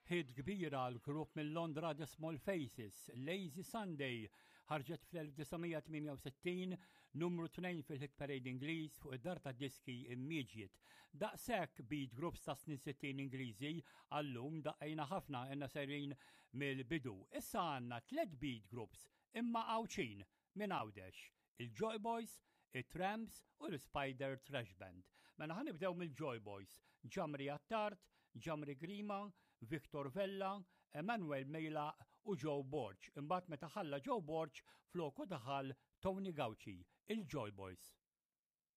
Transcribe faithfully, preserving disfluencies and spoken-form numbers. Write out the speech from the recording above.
Hit kbira l-grupp minn Londra The Small Faces, Lazy Sunday, ħarġet fl-elf disa' mija tmienja u sittin, numru tnejn fil-hit parade Ingliż fuq id-dar ta' diski Immediate. Daqshekk beat groups ta' snin sittin Ingliżi għallum daqqejna ħafna inna sejrin mill-bidu. Issa għandna tliet beat groups imma Għawdxin minn Għawdex, il-Joy Boys, it-Tramps u l-Spider Trash Band. Mela ħa nibdew mill-Joy Boys, Ġamri Attard, Ġamri Grima, Victor Vella, Emanuel Mejla u Joe Borg. Imbagħad meta ħalla Joe Borg floku daħal Tony Gauci, il-Joy Boys.